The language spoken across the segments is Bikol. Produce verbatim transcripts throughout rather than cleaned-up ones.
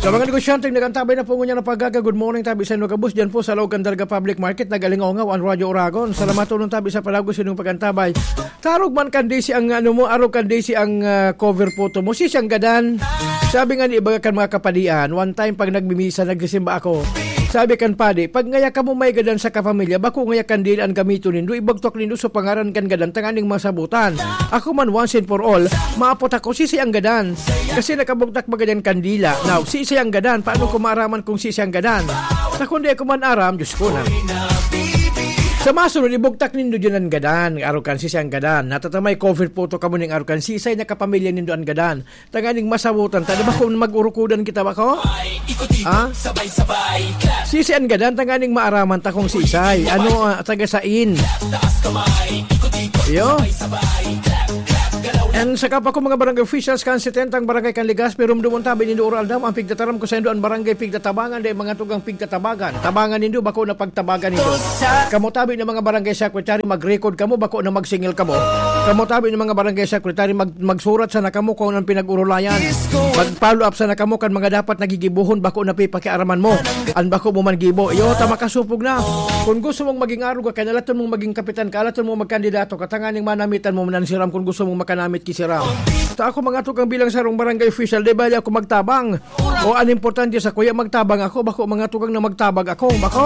Sa mga negosyanteng nag-antabay na po ngunyan na paggaga, good morning tabi sa inyo gabos dyan po sa loob kan Dalaga Public Market, nagalingaw-ngaw ang Radyo Oragon. Salamat tulong tabi sa palagos inyong pag-antabay. Tarog man kan D C ang ano mo, arog kan D C ang, ah, cover photo mo. Si siyang gadan. Sabi nga ni iba kan mga kapadian, one time pag nagmimisa, nagsisimba ako. Sabi kan padi, "Pag ngaya kamo may gadan sa kapamilya, bako ngaya kandila an gamiton nindo, ibagtok nindo sa pangaran kan gadan tanganing masabutan. Ako man, once and for all, maapot ako, sisay ang gadan. Kasi nakabugtak ba gadan kandila? Now, sisay ang gadan? Paano ko maaraman kung sisay ang gadan? Sa kundi ako man aram, Diyos ko na." Sa masunod, ibugtak nindo dyan ang gadan. Arog kan sisay ang gadan. Natatamay cover photo kamo ning arog kan sisay na kapamilya nindo ang gadan. Tanganing masabutan ta, di ba, kung mag-urukudan kita, bako? Ha? Sisay an gadan, tanganing maaraman ta kung sisay. Ano, ah, taga sain? Yo. And sa kapwa ko, mga barangay officials, kan setenta ang barangay kan Legazpi, rumdumon tabi nindo, Oral Dam, ang pigtataram ko sa indo, ang barangay pigtatabangan, dai mga tugang pigtatabagan. Tabangan nindo, bako na pagtabagan nindo. Kamo tabi ng mga barangay secretary, mag-record kamo, bako na magsingil kamo. Kamo tabi ng mga barangay secretary, mag-, magsurat sana kamo kung anong pinag-urulayan. Mag-follow up sana kamo kan mga dapat nagigibohon, bako na pipakiaraman mo. An bako mo man gibo, iyo, ta makasupog na. Kung gusto mong maging arog ka, kaalaton mong maging kapitan, kaalaton mong magkandidato, katanganing manamitan mo man si Ram kung gusto mong makanamit ki si Ram. Ta ako, mga tugang, bilang sarong barangay official, di bali ako magtabang. O, an importante sa kuya, magtabang ako, bako mga tugang na magtabag ako, bako?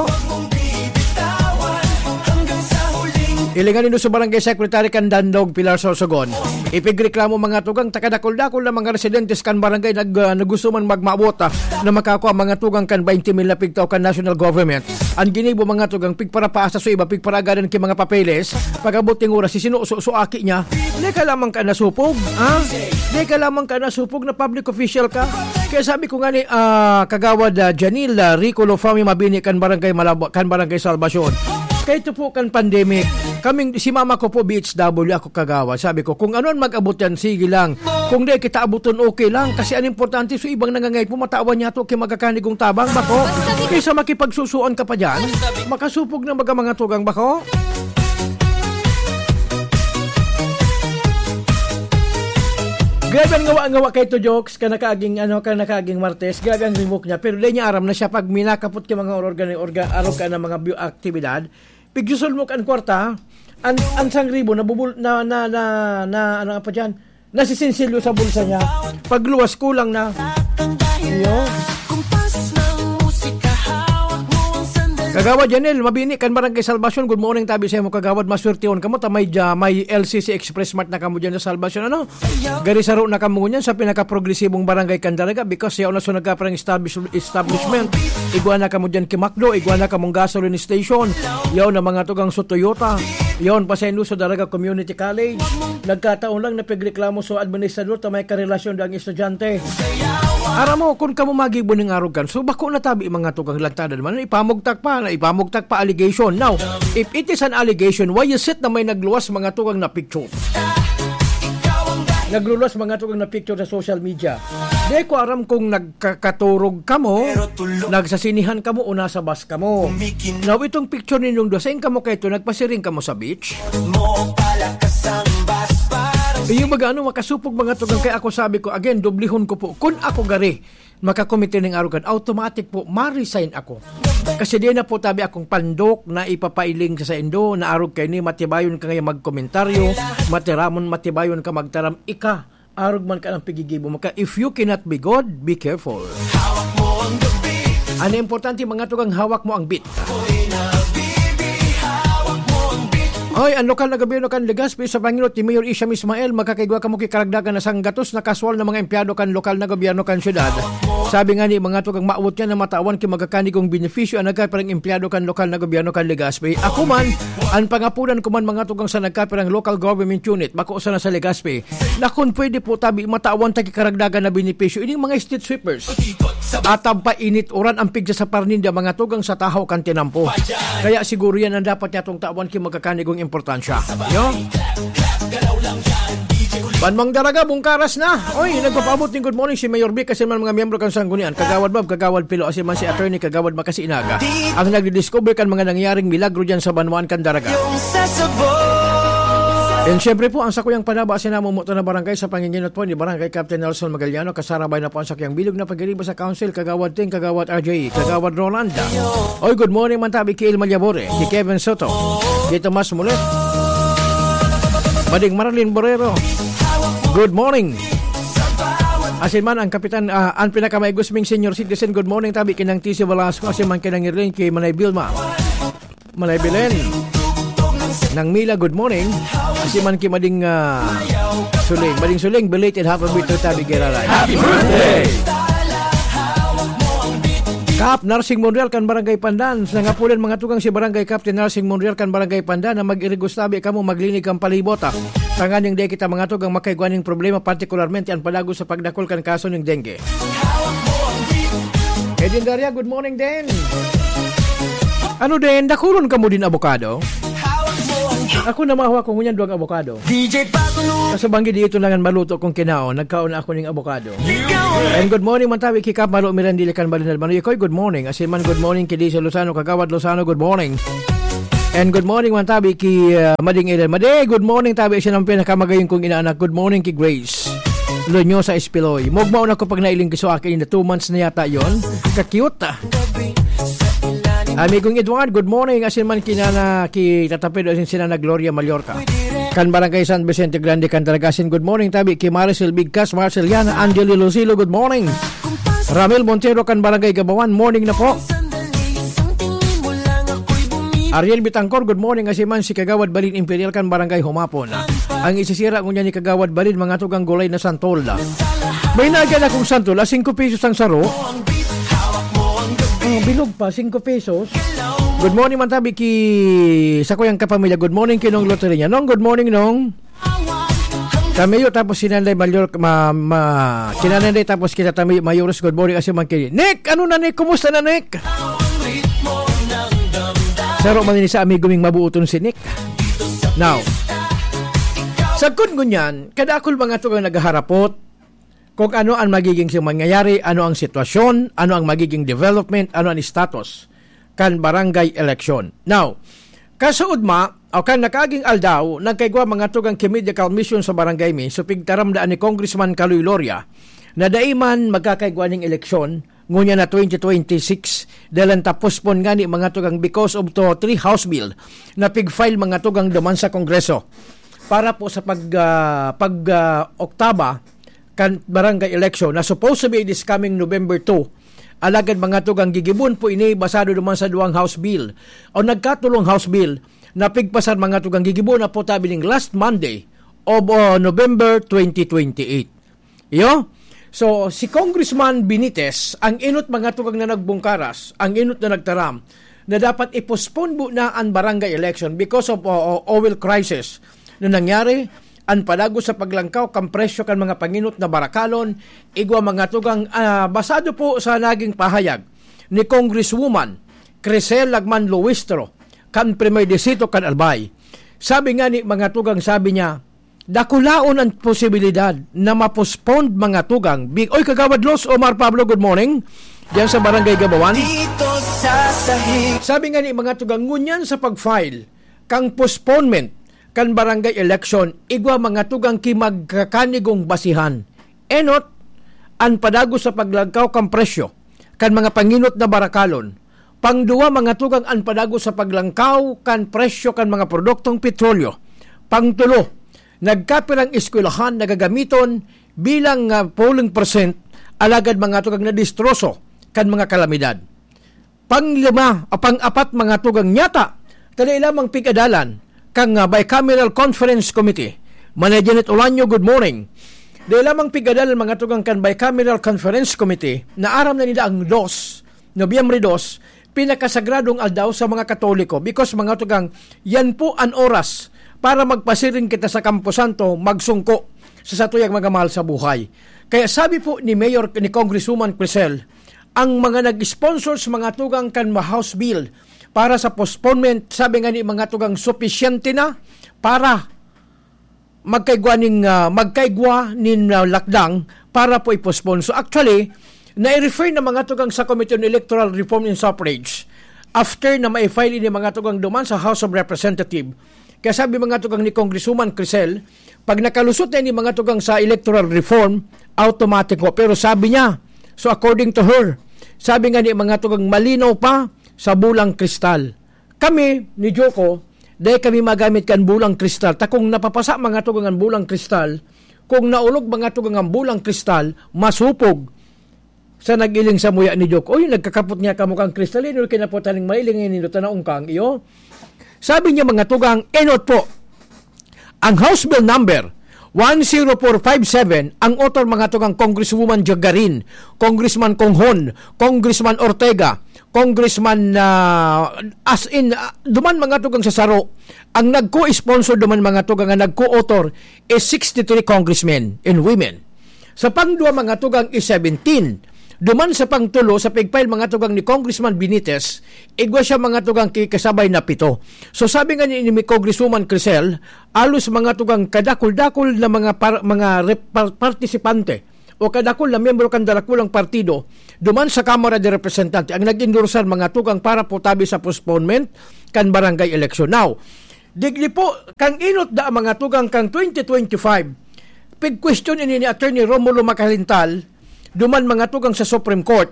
Ilingan nindo sa barangay secretary kan Dandog, Pilar Sorsogon. Ipigreklamo mga tugang, takadakol-dakol na mga residentes kan barangay nag-, ah, na gusto man magmaabot, ah, na makakua mga tugang kan twenty mil na pigtao kan national government. An ginibo mga tugang, pigparapaasa sa iba, pigparagadan ki mga papeles. Pag-abot ning oras, si sino, so, so aki niya. Di ka lamang ka nasupog, ha? Di ka lamang ka nasupog na public official ka. Kaya sabi ko nga ni, ah, Kagawad, ah, Janil, ah, Rico Lofami Mabini kan Barangay Malabo-, kan Barangay Salvacion. Kaya ito po kan pandemic, kaming, si mama ko po B H W, ako kagawad. Sabi ko, kung ano ang mag-abot yan, sige lang. Kung di kita abuton, okay lang. Kasi ang importante, so ibang nangangay po, matawan niya to, kay magkakanigong tabang, bako. Kaysa makipagsusuan ka pa dyan, makasupog na baga mga tugang, bako. Grabe ang ngawa-ngawa kay to, jokes, ka nakaaging, ano, ka nakaaging Martes, grabe ang rimok niya. Pero di niya aram na siya pag minakapot ka mga organ, organ, arog ka ng mga bi-, aktibidad, pigsusulmok ang kwarta, an, an sang ribo, nabubul-, na, na, na, na, ano nga pa dyan, nasisinsilyo sa bulsa niya. Pagluwas, kulang na. Iyo. Kagawad Janel Mabini kan Barangay Salvacion, good morning tabi sa imo, Kagawad. Maswertehon kamo ta may, ah, may L C C Express Mart na kamo dyan sa Salvacion, ano? Gari saro na kamo ngunyan sa pinakaprogresibong barangay kan Dalaga, because yaon na so nagkaparang establish-, establishment. Igwa na kamo dyan ki McDo, igwa na kamong gasoline station. Yaon na mga tugang so Toyota. Yaon pa sa Inuso Dalaga Community College. Nagkataon lang na pigreklamo so administrador ta may karelasyon dang estudyante. Aram mo, kung kamo magibo ning arogan, so bako na tabi mga tugang, lantadan man, ipamugtak pa, na ipamugtak pa allegation. Now, if it is an allegation, why is it na may nagluwas mga tugang na picture? Nagluluwas mga tugang na picture sa social media. Di ko aram kung nagkakaturog kamo, nagsasinihan kamo o nasa bus kamo. Now, itong picture ninyong duwa, sain kamo kaito, nagpasiring kamo sa beach? Iyo, baga ano, makasupog mga tugang, kaya ako sabi ko, again, dublihon ko po, kun ako gari, makakomite ning arogan, automatic po, ma-resign ako. Kasi di na po tabi akong pandok na ipapailing sa saindo, na arog kaini, matibayon ka ngayon magkomentaryo, matiramon, matibayon ka magtaram, ika, arog man ka ng pigigibo mo ka. If you cannot be God, be careful. Ang importante, mga tugang, hawak mo ang beat. Oy, ang lokal na gobyerno kan Legazpi sa panginot ni Mayor Isham Ismael, magkakaigwa kamo ki karagdagan na sanggatos na kaswal na mga empleyado kan lokal na gobyerno kan syudad. Sabi nga ni mga tugang, maawot niya na matawan ki magkakanigong benepisyo ang nagkaparang empleyado kan lokal na gobyerno kan Legazpi. Ako man, ang pangapunan ko man mga tugang sa nagkapirang local government unit, bako sana sa Legazpi, na kung pwede po tabi matawan ta ki karagdagan na benepisyo ining mga street sweepers. At ang painit uran ang pigsa sa parninda mga tugang sa tahaw kan tinampo. Kaya siguro yan ang dapat niya tong tawan ki magkakanigong importansya. Yo? Banmang Daraga, bungkaras na. Oy, nagpapaabot ning good morning si Mayor Vic, kasi man mga miyembro kan Sanggunian, Kagawad Bob, Kagawad Pilo, asin man si Attorney Kagawad Makasi Inaga, ang nagdi-discover kan mga nangyaring milagro dyan sa banwaan kan Daraga. Yung sa sabon. And syempre po, ang sakuyang panaba sa namomoto na barangay sa panginginot po ni Barangay Captain Nelson Magaliano, kasarabay na po ang sakuyang bilog na pagiriba sa Council, Kagawad Ting, Kagawad R J, Kagawad Rolanda. Oy, good morning man tabi ki El Malyabore, ki Kevin Soto, ki Tomas Mulet, Mading Marilyn Borrero. Good morning. Asin man ang kapitan, ah, ang pinakamaigusming senior citizen, good morning tabi kinang T C Velasco, asin man kinang Irene, ki Manay Vilma. Manay Belen. Nang Mila, good morning. Asin man ki Mading, ah, Suling. Mading Suling, belated happy birthday tabi giraray. Happy birthday! Kap Narsing Monreal kan Barangay Pandan. Nangapulan mga tugang si Barangay Captain Narsing Monreal kan Barangay Pandan na mag-irigos tabi kamo maglinig kan palibot, ah. Tanganing di kita mga tugang makaigwa ning problema, partikularmente ang padago sa pagdakul kan kaso ning dengue. Edin Daria, good morning din. Ano din, dakulon kamo din abokado? Ako na mahawa ko ngunyan duwang abokado. D J Pakulo. Sa banggi di ito nangan maluto kung kinaon, nagkaon na ako ning abokado. And good morning man tabi ki Kap Malo Mirandil kan Balinad Manoy. Ikoy, good morning. Asin man, good morning ki Dizzy Lozano, Kagawad Lozano, good morning. And good morning man tabi ki, ah, Mading Eden. Madi, good morning tabi siya ng pinakamagayon kong inaanak. Good morning ki Grace Lonyosa Espiloy. Mugmaon ako pag nailing kiso akin in the two months na yata yon. Ka-cute, ah. Amigong Edward, good morning. Asin man kinana, ki Tata Pedro, asin si Nana Gloria Mallorca. Kan Barangay San Vicente Grande, kan Daragasin, good morning tabi ki Maricel Bigkas, Marceliana, Angeli Lucilo, good morning. Ramil Montero kan Barangay Gabawan, morning na po. Ariel Bitangkor, good morning. Asin man si Kagawad Balin Imperial kan Barangay Humapon. Ang isisira ngunyan ni Kagawad Balin, mga tugang gulay na santol. May nagyan akong santol, ah, singko pesos ang saro. Oh, bilog pa, singko pesos. Good morning man tabi ki, sa kuyang kapamilya. Good morning ki Nong Loteria. Nong, good morning, Nong. Tamiyo tapos si Nanay Mayor, ma, ma, si Nanay tapos kita Tamiyo Mayores, good morning, asin man ki Nick. Ano na, Nick? Kumusta na, Nick? Saro man ini sa amigo ming mabuoton si Nick. Now, sagkod ngunyan, kadakul mga tugang naghaharapot kung ano ang magiging si-, mangyayari, ano ang sitwasyon, ano ang magiging development, ano ang status kan barangay election. Now, kasuodma, o kan nakaaging aldaw, nagkaigwa mga tugang ki medical mission sa barangay mi, so pigtaram daan ni Congressman Kaloy Loria, na dai man magkakaigwa ning eleksyon, ngunya na twenty twenty-six, dahil ang tapos pon ngani mga tugang because of to three House Bill na pig-file mga tugang duman sa Kongreso para po sa pag, ah, pag, ah, oktaba kan barangay election na supposed to be this coming November two. Alagad mga tugang gigibon po ini basado duman sa duwang House Bill o nagkatulong House Bill na pigpasar mga tugang gigibon na po tabi ning last Monday of, uh, November twenty twenty-eight. Iyo? So, si Congressman Benitez, ang inot mga tugang na nagbungkaras, ang inot na nagtaram, na dapat i-postpone po na ang barangay election because of, uh, uh, oil crisis na nangyari, ang padago sa paglangkaw kan presyo kan mga panginot na barakalon, igwa mga tugang, ah, basado po sa naging pahayag ni Congresswoman Crisel Lagman Luistro, kan Primer Distrito kan Albay. Sabi nga ni mga tugang, sabi niya, dakulaon ang posibilidad na ma-postpone mga tugang. Big, oy, Kagawad Los Omar Pablo, good morning. Diyan sa Barangay Gabawan. Dito sa sahig. Sabi nga ni mga tugang, ngunyan sa pag-file kang postponement kan barangay election, igwa mga tugang ki magkakanigong basihan. Enot, ang padago sa paglangkaw kan presyo kan mga panginot na barakalon. Pangduwa, mga tugang, ang padago sa paglangkaw kan presyo kan mga produktong petrolyo. Pangtulo, nagkapirang eskwelahan na gagamiton bilang, ah, polling percent, alagad mga tugang na distroso kan mga kalamidad. Panglima o pang-apat, mga tugang, nyata, ta dai lamang pig-adalan kan, ah, Bicameral Conference Committee. Manay Janet Olanyo, good morning. Dai lamang pig-adalan mga tugang kan Bicameral Conference Committee na aram na nila ang dos, Nobyembre dos, pinakasagradong aldaw sa mga Katoliko because mga tugang, yan po ang oras para magpasiring kita sa Camposanto, magsungko sa satuyang mga mahal sa buhay. Kaya sabi po ni Mayor, ni Congresswoman Crisel, ang mga nag-sponsor sa mga tugang kan House Bill para sa postponement, sabi nga ni mga tugang, supisyente na para magkaigwa ning, ah, magkaigwa nin, ah, lakdang para po i-postpone. So actually, nai-refer na mga tugang sa Committee on Electoral Reform and Suffrage after na ma-file ini mga tugang duman sa House of Representative. Kaya sabi, mga tugang, ni Congresswoman Crisel, pag nakalusot na ini, mga tugang, sa electoral reform, automatic ho. Pero sabi niya, so according to her, sabi nga ni, mga tugang, malinaw pa sa bulang kristal. Kami, ni Joko, dai kami magamit kan bulang kristal. Ta kung napapasa, mga tugang, ang bulang kristal, kung naulog, mga tugang, ang bulang kristal, masupog sa nag-iling sa muya ni Joko. Uy, nagkakapot niya kamo kang kristal, eh, no, kinapotan ning mailing, eh, nindot na naungkang iyo. Sabi niya, mga tugang, enot po, ang House Bill number one zero four five seven, ang author, mga tugang, Congresswoman Jagarin, Congressman Conghon, Congressman Ortega, Congressman, ah, as in, ah, duman, mga tugang, sa saro, ang nagko-sponsor duman, mga tugang, ang nagko-author is sixty-three congressmen and women. Sa pangduwa, mga tugang, is seventeen. Duman sa pangtulo, sa pig-file, mga tugang, ni Congressman Benitez, igwa siya, mga tugang, ki kasabay na pito. So, sabi nga ni, ni Congresswoman Crisel, alos, mga tugang, kadakul-dakul na mga par-, mga rep-, par-, partisipante o kadakul na miyembro kan darakulang partido duman sa Kamara de Representante ang nag-endorsar, mga tugang, para po tabi sa postponement kan barangay election. Now, digdi po, kang inot da, mga tugang, kang twenty twenty-five, pig-question ini ni Attorney Romulo Macalintal, duman, mga tugang, sa Supreme Court,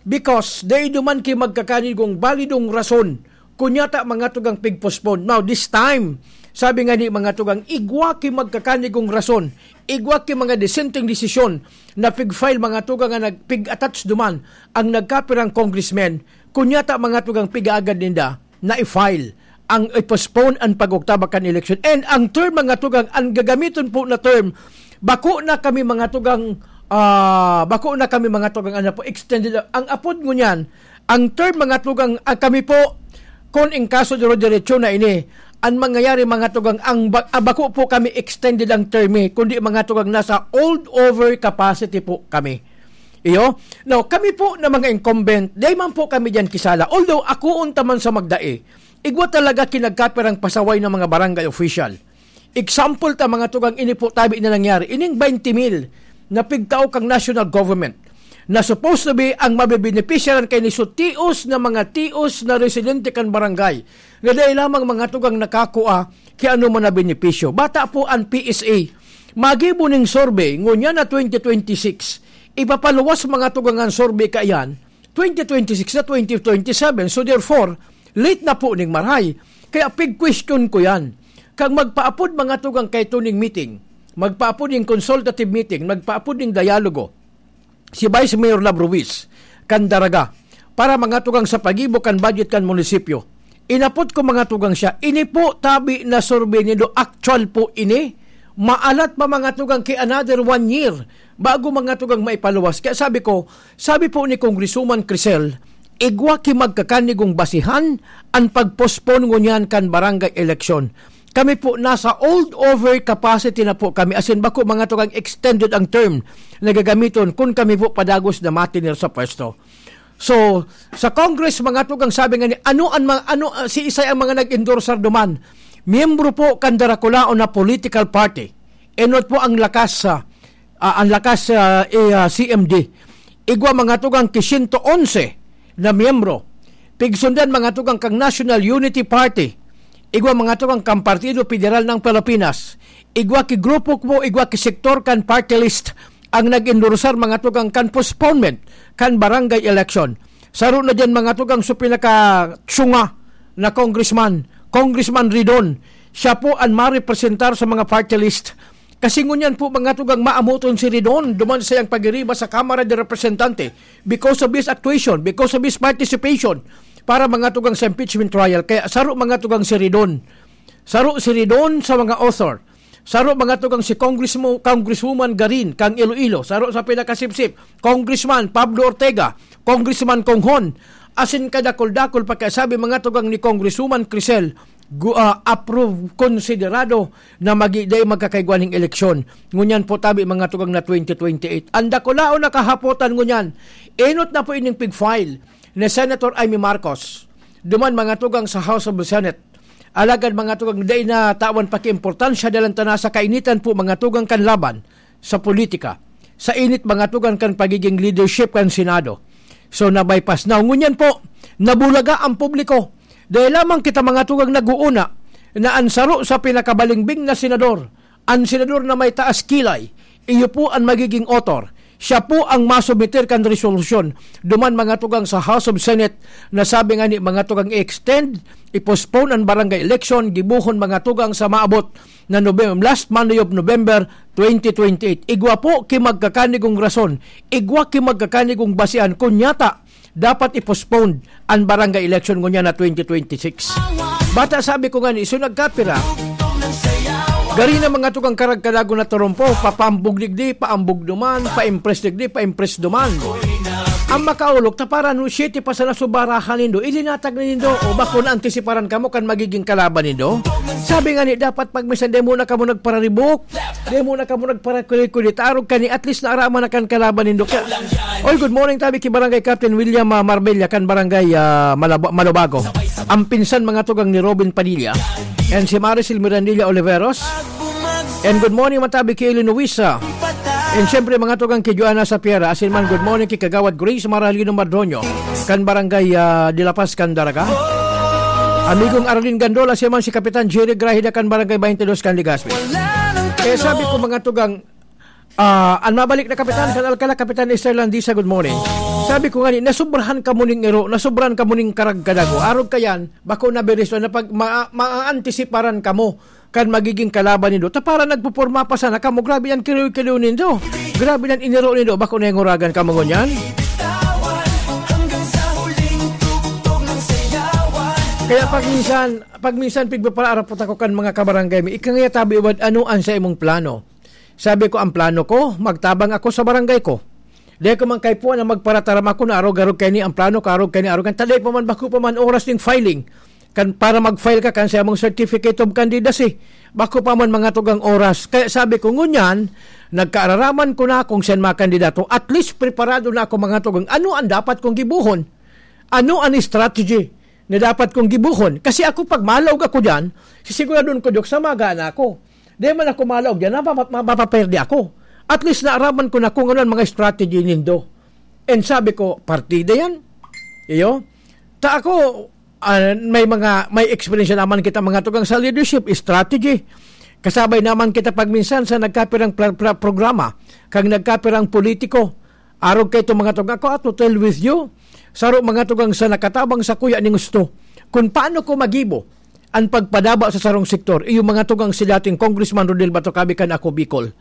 because dai duman ki magkakanigong balidong rason kun yata, mga tugang, pig-postpone. Now, this time, sabi nga ni, mga tugang, igwa ki magkakanigong rason, igwa ki mga disenteng desisyon na pig-file, mga tugang, nga nag-, pig-attach duman ang nagkapirang congressmen, kun yata, mga tugang, pigaagad ninda na i-file ang i-postpone ang pag-oktaba kan eleksyon. And ang term, mga tugang, ang gagamiton po na term, bako na kami, mga tugang, ah, bako na kami, mga tugang, ano po, extended. Ang apod ngunyan, ang term, mga tugang, ah, kami po, kun in kaso diro diretso na ini, ang mangyayari, mga tugang, ang ba-, ah, bako po kami extended ang term, eh, kundi, mga tugang, nasa hold over capacity po kami. Iyo? Now, kami po na mga incumbent, dai man po kami diyan kisala. Although, ako unta man sa magdai, igwa talaga ki nagkapirang pasaway ng mga barangay official. Example ta, mga tugang, ini po tabi na nangyari. Ining twenty mil na pigtao kang national government na supposed to be ang mabebenepisyaran kay ni so tios na mga tios na residente kan barangay, nga dai lamang, mga tugang, nakakua ki ano man na benepisyo. Bata po ang P S A. Magibo ning survey, ngunyan na twenty twenty-six, ipapaluwas, mga tugang, ang survey kaiyan, twenty twenty-six na twenty twenty-seven. So therefore, late na po ning maray. Kaya pig-question ko yan. Kag magpaapod, mga tugang, kay tuning meeting, magpaapod ning consultative meeting, magpaapod ning dialogo, si Vice Mayor Love Ruiz, kan Daraga, para, mga tugang, sa pagibo kan budget kan munisipyo. Inapod ko, mga tugang, siya. Ini po tabi na survey nindo, actual po ini. Maalat pa, mga tugang, ki another one year bago, mga tugang, maipaluwas. Kaya sabi ko, sabi po ni Congresswoman Crisel, igwa ki magkakanigong basihan ang pag-postpone ngunyan kan barangay election. Kami po, nasa hold over capacity na po kami. As in, bako, mga tugang, extended ang term na gagamiton kun kami po padagos na matinir sa pwesto. So, sa Congress, mga tugang, sabi nga ni, ano ang mga, ano, ah, si isay ang mga nag-endorsar duman? Miyembro po kan darakulaon na political party. Enot po ang lakas, ah, ah, ang lakas, ah, eh, ah, C M D. Igwa, mga tugang, ki siyento onse na miyembro. Pigsundan, mga tugang, kang National Unity Party. Igwa, mga tugang, kang Partido Federal ng Pilipinas. Igwa ki grupo po, igwa ki sektor kan party list ang nag-endorsar, mga tugang, kan postponement kan barangay election. Saro na diyan, mga tugang, so pinakatsunga na congressman, Congressman Ridon. Siya po ang marepresentar sa mga party list. Kasi ngunyan po, mga tugang, maamoton si Ridon duman sa iyang pagiriba sa Kamara de Representante because of his actuation, because of his participation para, mga tugang, sa impeachment trial. Kaya saro, mga tugang, si Ridon. Saro si Ridon sa mga author. Saro, mga tugang, si Congressmo-, Congresswoman Garin kang Iloilo. Saro sa pinakasipsip, Congressman Pablo Ortega, Congressman Conghon. Asin kadakul-dakul pa kaya sabi, mga tugang, ni Congresswoman Crisel, gu-, ah, approve, konsiderado na magi-, dai magkakaigwa ning eleksyon. Ngunyan po tabi, mga tugang, na twenty twenty-eight. Ang dakulaon na kahapotan ngunyan, enot na po ining pig-file ni Senator Imee Marcos. Duman, mga tugang, sa House of the Senate. Alagad, mga tugang, dai na tawan pakiimportansya, dalan ta na sa kainitan po, mga tugang, kan laban sa politika, sa init, mga tugang, kan pagiging leadership kan Senado. So, na-bypass. Now, ngunyan po, nabulaga ang publiko. Dai lamang kita, mga tugang, nag-uuna na an saro sa pinakabalingbing na senador, an senador na may taas kilay, iyo po an magiging author. Siya po ang masubmiter kan resolusyon duman, mga tugang, sa House of Senate, na sabi nga ni, mga tugang, i-extend, i-postpone an barangay election, gibohon, mga tugang, sa maabot na Novem-, last Monday of November twenty twenty-eight. Igwa po ki magkakanigong rason, igwa ki magkakanigong basehan, kunyata, dapat i-postpone an barangay election ngunyan na twenty twenty-six. Bata, sabi ko nga ni, iso nagkapira. Gari na, mga tugang, karagkadago na turumpo, papaambog digdi, paambog duman, pa-impress digdi, pa-impress duman. Ang makaulok, ta para no, siyete pa sana subarahan nindo, ilinatag na nindo, o bako na antisiparan kamo kan magiging kalaban nindo. Sabi nga ni, dapat pag minsan, di muna kamo nagpararibok, di muna kamo nagparakulit-kulit, arog kani, at least naaraman na kan kalaban nindo. Kaya, oy, good morning, tabi ki Barangay Captain William, ah, Marbella, kan Barangay, ah, Malaba-, Malubago. Ang pinsan, mga tugang, ni Robin Padilla. And si Maricel Mirandilla Oliveros. And good morning, matabi ki Eli Luisa. And syempre, mga tugang, ki Joanna Sapiera. Asin man, good morning ki Kagawad Grace Maralino Mardonio, kan Barangay, ah, de La Paz, kan Daraga. Amigong Arlene Gandola, siya man si Kapitan Jerry Grahida, kan Barangay twenty-two, kan Legazpi. Kaya sabi ko, mga tugang, ah, an mabalik na kapitan, kan Alcala, Kapitan Esther Landisa, good morning. Sabi ko nga ni, nasubrahan kamo ning iro, nasubrahan kamo ning karagkadago. Arog kayan, bako na beres, na pag ma-, maaantisiparan kamo kan magiging kalaban nindo. Ta para nagpuporma pa sana kamo, grabe yan kiliw-kiliw nindo. Grabe yan iniro nindo, bako na yung uragan kamo ngunyan. Kaya pag minsan, pag minsan, pigpapaarapot ako kan mga kabarangay mi, ikangaya tabi iwad, ano an sa imong plano? Sabi ko, ang plano ko, magtabang ako sa barangay ko. Di ko man kaipuhan na magparataram ako na arog-arog kaini ang plano ko, arog kaini, arog kaini. Ta dai pa man, bako pa man oras ning filing. Kan, para mag-file ka kan sa imong certificate of candidacy. Bako pa man, mga tugang, oras. Kaya sabi ko, ngunyan, nagkaararaman ko na kung saan mga kandidato. At least, preparado na ako, mga tugang. Ano ang dapat kong gibuhon? Ano ang strategy na dapat kong gibuhon? Kasi ako, pag malaog ako dyan, sisiguradon ko, Diyok, sa maga na ako. Di man ako malaog dyan, mapapa-, mapapaperde ako. At least, naaraman ko na kung ano ang mga strategy nindo. And sabi ko, partida yan. Iyo? Ta ako, ah, may mga, may experience naman kita, mga tugang, sa leadership, strategy. Kasabay naman kita pag minsan sa nagkapirang pra-, pra-, programa, kag nagkapirang politiko. Arog kay itong mga tugang ko, to tell with you, saro, mga tugang, sa nakatabang sa kuya ning gusto. Kung paano ko magibo ang pagpadaba sa sarong sektor, iyo, mga tugang, si dating Congressman Rodel Batocabe kan Ako Bicol.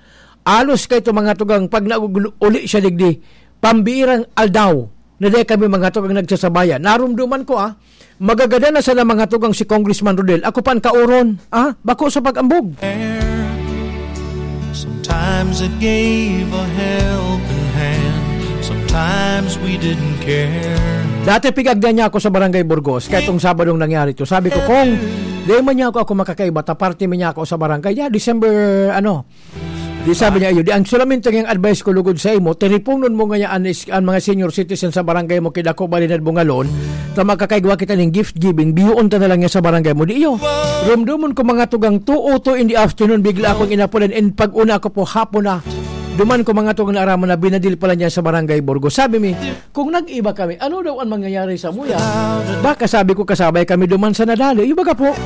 Alos kay ito, mga tugang, pag nauli siya digdi, pambirang aldaw na dai kami, mga tugang, nagsasabayan. Narumduman ko, ah, magagadan na sana, mga tugang, si Congressman Rodel. Ako pa ang kauron, ah, bako sa pag-ambog. Sometimes it gave a helping hand. Sometimes we didn't care. Dati pigagdan niya ako sa Barangay Burgos, kaya itong Sabadong nangyari to. Sabi ko, "Kong, di man niya ako, ako makakaiba, ta parte man niya ako sa barangay." Yeah, December, ano, di sabi niya, "Iyo, di ang solamente ngayang advice ko lugod sa imo, teleponon mo ngaya an is-, an mga senior citizen sa barangay mo, kidako, balinad, bungalon, ta makakaigwa kita ning gift giving, biyoon ta na lang niya sa barangay mo." Di iyo, rumdumon ko, mga tugang, two o two in the afternoon, bigla akong inapulan, and pag una ko po, hapon na, duman ko, mga tugang, naaraman na binadil pala niya sa Barangay Burgos. Sabi mi, kung nag-iba kami, ano daw ang mangyayari sa muya? Baka, sabi ko, kasabay kami duman sa nadali. Yung baga po,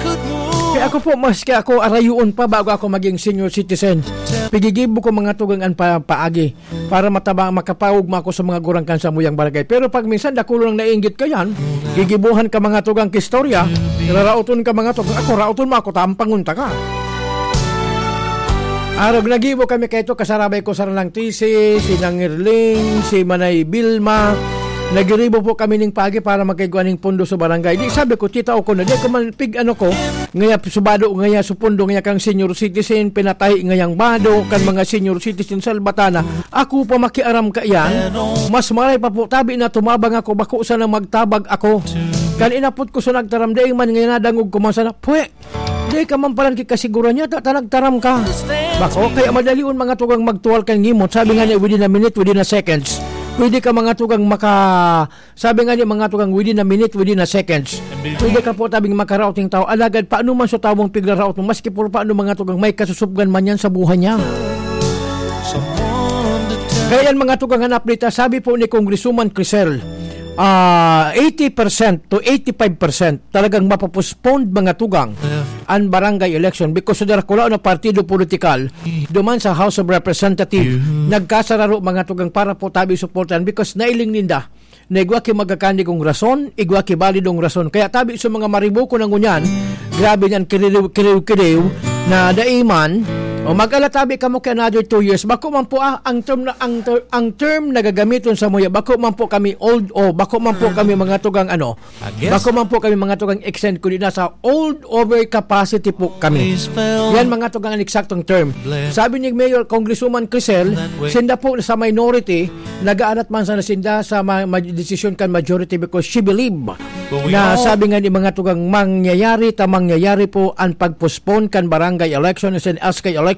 kaya ako po, maski ako, arayoon pa bago ako maging senior citizen. Pigigibo ko, mga tugang, an pa-, paagi para mataba, makapaugma ako sa mga gurang kan sa muyang barangay. Pero pag minsan, dakulo nang nainggit ka yan, gigibuhan ka, mga tugang, kistorya, raraoton ka, mga tugang, ako, raoton mo ako, tampangon ta ka. Arog, nagibo kami kaito, kasarabay ko sa Ranang T C, si Nang Erling, si Manay Vilma. Nagiribo po kami ning pagi para magkaigwa ning pondo sa barangay. Di sabi ko, tita, o ko na, di ko man pig ano ko, ngaya subado, ngaya supondo, ngaya kang senior citizen, pinatahi ngayang bado, kan mga senior citizen sa Albatana. Ako pa makiaram ka iyan, mas maray pa po, tabi na tumabang ako, bako sana magtabag ako. Kan inapot ko sa nagtaram, di man ngaya nadangog ko man sana, pwe, di ka man palan kikasiguran niya, ta, ta nagtaram ka. Bako, kaya madalion, mga tugang, magtuwal kan ngimot. Sabi nga niya, within a minute, within a seconds. Pwede ka, mga tugang, maka-, sabi nga niya, mga tugang, within a minute, within a seconds. Pwede ka po tabing makaraot ng tao. Alagad, paano man sa tawong pigraraot mo, maski po paano, mga tugang, may kasusubgan man yan sa buhay niya. Kaya yan, mga tugang, an update, ah, sabi po ni Congresswoman Crisel, ah, eighty percent to eighty-five percent talagang mapopostponed, mga tugang, an barangay election because sa darakulaon na partido politikal duman sa House of Representatives, nagkasararo, mga tugang, para po tabi suportahan because nailing ninda na igwa ki magkakanigong rason, igwa ki balidong rason. Kaya tabi sa mga maribuko na ngunyan, grabe niyan, kiriw-kiriw-kiriw na daiman, o mag-ala tabi kamo ki another two years. Bako man po, ah, ang term na, ang ter-, ang term na gagamiton sa muya, bako man po kami old, o bako man po kami mga tugang ano, bako man po kami mga tugang extend, kundi nasa old over capacity po kami. Yan, mga tugang, ang eksaktong term. Sabi ni Mayor Congresswoman Crisel, sinda po sa minority, nagaanat man sana sinda sa ma-, ma-, desisyon kan majority because she believe na, sabi nga ni mga tugang, mangyayari ta mangyayari po ang pag-postpone kan barangay election and S K election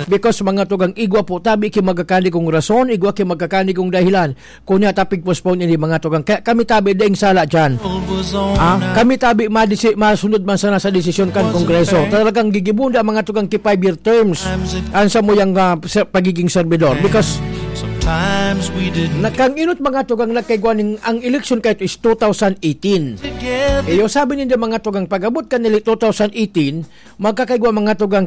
because, mga tugang, igwa po tabi ki magkakanigong rason, igwa ki magkakanigong dahilan. Kunya ta pig-postpone ini, mga tugang. Kaya kami tabi daing sala diyan. Ah, kami tabi madisi-, masunod man sana sa desisyon kan Kongreso. Talagang gigibunda, mga tugang, ki five-year terms ang samuyang, ah, sa pagiging servidor. Because Sometimes we didn't na kang inot, mga tugang, nagkaigwa ning, ang election kahit is two thousand eighteen. Iyo, sabi ninda, mga tugang, pag-abot ka nili two thousand eighteen, magkakaigwa, mga tugang,